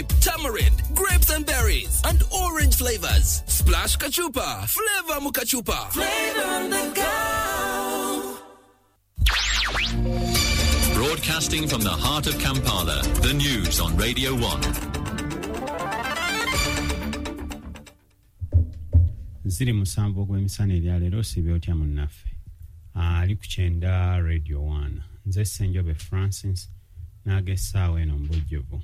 Tamarind, grapes and berries, and orange flavors. Splash Kachupa, flavor mukachupa. Flavor on the go. Broadcasting from the heart of Kampala, the news on Radio 1. 07 ogw'emisana eryaleero osiibye otya munnaffe ali ku 90 Radio 1. Nze Ssenjobe Francis n'ag'essaawa eno mu bujjuvu.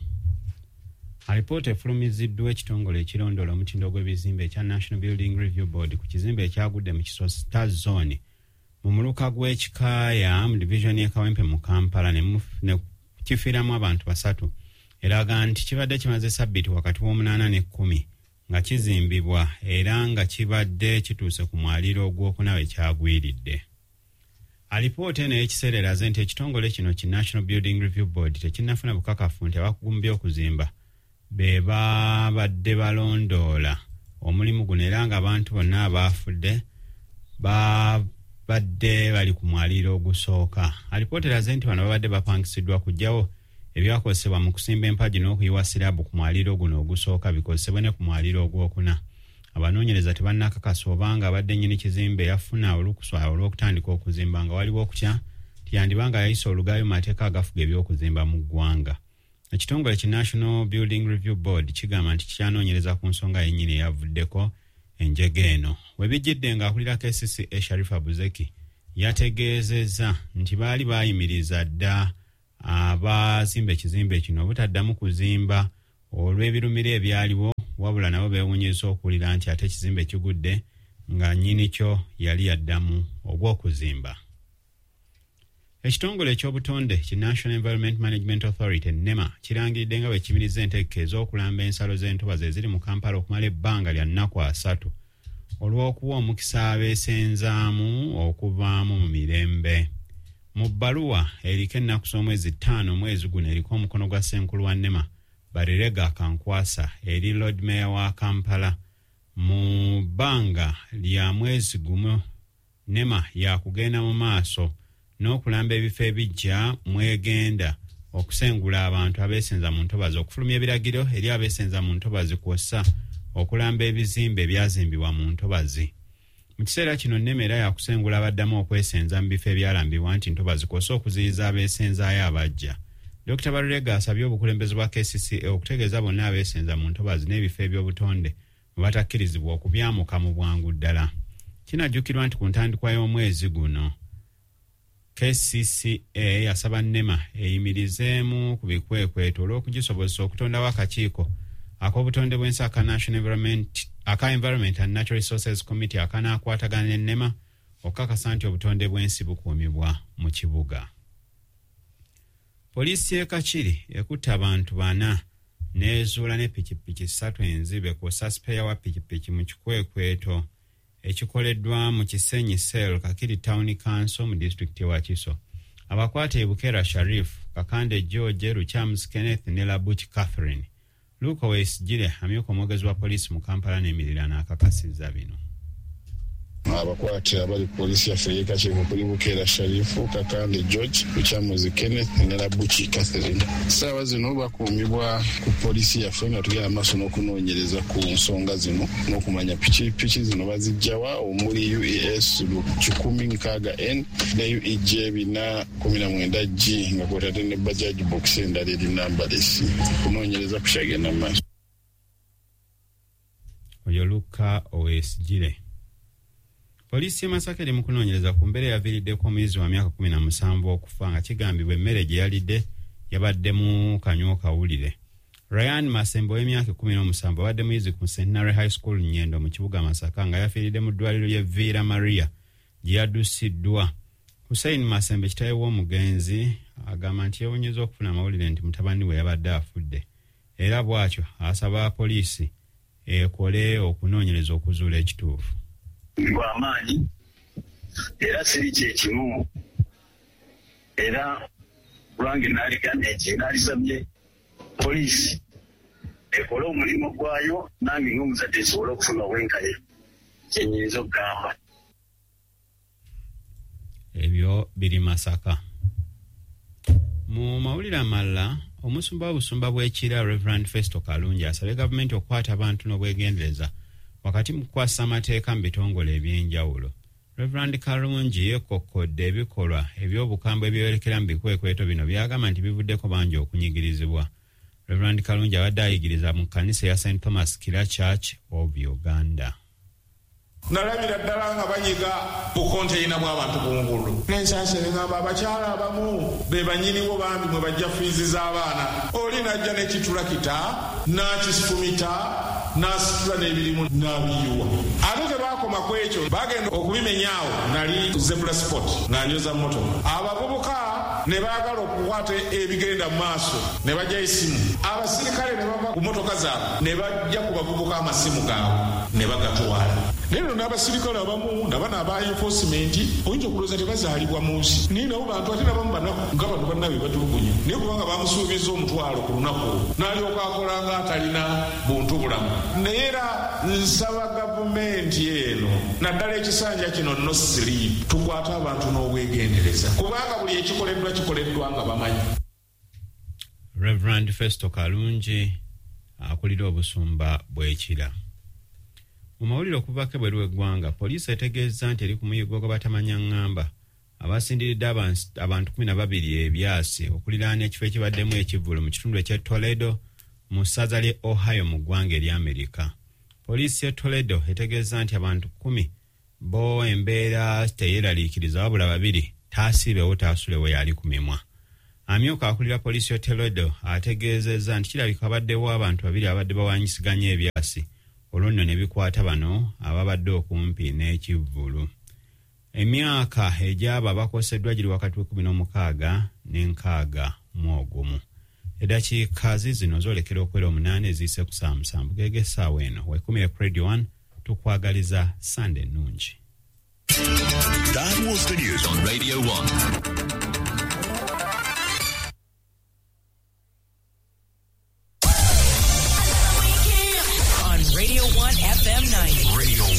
Alipoota efulumiziddwa ekitongole ekirondoola omutindo gw'ebizimbe ekya National Building Review Board ku kizimbe ekyagudde mu Kisota Zone mu muluka gw'Ekikaaya mu divisioni y'e Kawempe mu Kampala ne kifiiramu abantu 3, eraga nti kibadde kimaze sabbiiti wakati w'omunaana ne 10 nga kizimbibwa era nga kibadde kituuse ku mwaliiro ogwokuna we kyagwiridde. Alipoota eno ey'ekiseera eraze nti ekitongole kino ki National Building Review Board tekinnafuna bukakafu nti abakugu mu by'okuzimba be babadde balondoola omulimu guno, era nga abantu bonna abaafudde babadde bali ku mwaliiro ogusooka. Alipoota eraze nti bano babadde bapangisiddwa kuggyawo ebyakozesebwa mu kusimba empagi n'okuyiwa siraabu ku mwaliiro guno ogusooka bikozesebwe ne ku mwaliiro ogwokuna. Abanoonyereza tebannakakasa obanga abadde nnyini kizimbe yafuna olukusa olw'okutandika okuzimba, nga waliwo okutya nti yandiba nga yayisa olugaayo mu mateeka agafuga eby'okuzimba mu ggwanga. Ekitongole ki National Building Review Board kigamba nti kikyanoonyereza ku nsonga yennyini eyavuddeko enjega eno. We bijjidde ng'akulira KCCA Sharifa Buzeki yategeezezza nti baali baayimiriza dda abazimba ekizimbe kino obutaddamu kuzimba olw'ebirumira ebyaliwo, wabula nabo beewuunyizza okuwulira nti ate ekizimbe kigudde nga nnyini kyo yali yaddamu ogw'okuzimba. Ekitongole ekyobutonde ki National Environment Management Authority NEMA kirangiridde nga bwe kiyimiriza entegeka ez'okulamba ensalo z'entobazi eziri mu Kampala okumala ebbanga lya nnaku 3 olw'okuwa omukisa abeesenzaamu okuvaamu mu mirembe. Mu bbaluwa eriko ennaku z'omwezi 5 omwezi guno eriko omukono gwa ssenkulu wa NEMA Barirega Kankwasa eri Lord Mayor wa Kampala, mu bbanga lya mwezi gumu NEMA yakugenda mu maaso n'okulamba ebifo ebijja mwegenda okusengula abantu abeesenza mu ntobazi, okufulumya ebiragiro eri abeesenza mu ntobazi kw'ossa okulamba ebizimbe ebyazimbibwa mu ntobazi. Mu kiseera kino NEMA era yakusengula abaddamu okwesenza mu bifo ebyalambibwa nti ntobazi kw'ossa okuziyiza abeesenzaayo abajja. Dr. Barirega asabye obukulembeze bwa KCCA okutegeeza bonna abeesenza mu ntobazi n'ebifo eby'obutonde mwe batakkirizibwa okubyamuka mu bwangu ddala. Kinajjukirwa nti ku ntandikwa y'omwezi guno KCCA yasaba NEMA eyimirizeemu ku bikwekweto olw'okugisobozesa okutondawo akakiiko ak'obutonde bw'ensi aka National Environment aka Environment and Natural Resources Committee akanaakwatagana ne NEMA okukakasa nti obutonde bw'ensi bukuumibwa mu kibuga. Poliisi y'e Kakiri ekutte abantu 4 n'ezuula ne pikipiki 3 enzibe kw'ossa sipeeya wa pikipiki mu kikwekweto ekikoleddwa mu Kisenyi Cell Kakiri Town Council mu disitulikiti y'e Wakiso. Abakwate Bukera Sharif, Kakande George, Luchamus Kenneth ne Labuchi Catherine. Luke Owesigire amyuka omwogezi wa poliisi mu Kampala n'emiriraano akakasizza bino. Abakwate abali ku poliisi yaffe ey'e Kakiri kuli Bukera Sharifu, Kakande George, Lukyamuzi Kenneth ne Labuchi Catherine. Essaawa zino bakuumibwa ku poliisi yaffe nga tugenda maaso n'okunoonyereza ku nsonga zino n'okumanya pikipiki zino baziggyawa, omuli UES 160N ne UEJ 419G nga kw'otadde ne Bajaj Box endala eri nambalesi. Okunoonyereza kukyagenda mu maaso. Oyo Luka Owesigire. Poliisi y'e Masaka eri mu kunoonyereza ku mbeera eyaviiriddeko omuyizi wa myaka 17 okufa nga kigambibwa emmere gye yalidde yabaddemu kanywa kawulire. Ryan Masembe ow'emyaka 17 abadde muyizi ku Centenary High School Nyendo mu kibuga Masaka nga yafiiridde mu ddwaliro ly'e Villa Maria gye yaddusiddwa. Hussein Masembe kitaawe w'omugenzi agamba nti yeewuunyizza okufuna amawulire nti mutabani we yabadde afudde, era bw'atyo asaba poliisi ekole okunoonyereza okuzuula ekituufu. Gwamaanyi era siri kyekimu, era lwange naalisabye poliisi ekole omulimu gwayo nange ng'omuzadde nsobole okufuna obwenkanya kyenyinza okugamba. Ebyo biri Masaka. Mu mawulire amalala, Omusumba w'obusumba bw'Ekira, Reverend Festo Kalungi, asabye gavumenti okukwata abantu n'obwegendereza wakati mu kukwasa amateeka mu bitongole ebyenjawulo. Reverend Kalungi yeekokkodde ebikolwa eby'obukambwe ebyeyolekera mu bikwekweto bino by'agamba nti bivuddeko bangi okunyigirizibwa. Reverend Kalungi abadde ayigiriza mu kkanisa eya St Thomas Kira Church of Uganda. Nalabira ddala nga banyiga bukonteyina bw'abantu ku nguudo, n'ensaasi neŋŋamba abakyala abamu be bannyiniwo bambi mwe bajja fiizi z'abaana. Oli n'ajja n'ekitulakita n'akifumita n'asitula n'ebirimu n'abiyiwa. Ate tebakoma ku ekyo, bagenda okubimenyaawo. Nali Zebra Sport nga njoza mmotoka, abavubuka ne baagala okukwata ebigenda mu maaso ne bajja esimu. Abasirikale ne bava ku mmotoka zaabwe ne bajja ku bavubuka amasimu gaabwe ne bagatwala. Naye nno n'abasirikale abamu nabano aba enforcement oyinza okulowooza tebazaalibwa mu nsi, naye nabo bantu, ate nabamu banaku nga bano bannabe batulugunya. Naye kubanga bamusuubiza omutwalo ku lunaku olwo, n'alyoka akola nga atalina buntu bulamu. Naye era nsaba gavumenti eno, naddala ekisanja kino, no sleep, tukwate abantu n'obwegendereza, kubanga buli ekikoleddwa kikoleddwa nga bamanyi. Reverend Festo Kalungi akulira obusumba bw'Ekira. Mu mawulire okuvako ebweru w'eggwanga, poliisi etegeezza nti eri ku muyiggo gw'abatamanya ŋŋamba abasindiridde abantu 12 ebyasi okuliraana ekifo ekibaddemu ekivvulu mu kitundu eky'e Toledo mu ssaza ly'e Ohio mu ggwanga erya Amerika. Poliisi y'e Toledo etegeezza nti abantu 10 bo embeera teyeeraliikiriza, wabula babiri taasiibewo taasulewo yali ku mimwa. Amyuka akulira poliisi y'e Toledo ategeezezza nti kirabika abaddewo abantu babiri abadde bawanyisiganya ebyasi, olwo nno ne bikwata bano ababadde okumpi n'ekivvulu. Emyaka egy'abo abakoseddwa giri wakati w'16 ne61. Eddakiika zizino zoolekera okwera 8 eziyise ku ssaawa 7 geege essaawa eno. Wekumire ku Radio 1, tukwagaliza Sande ennungi. That was the news on Radio 1. On Radio 1 FM 90. Radio 1.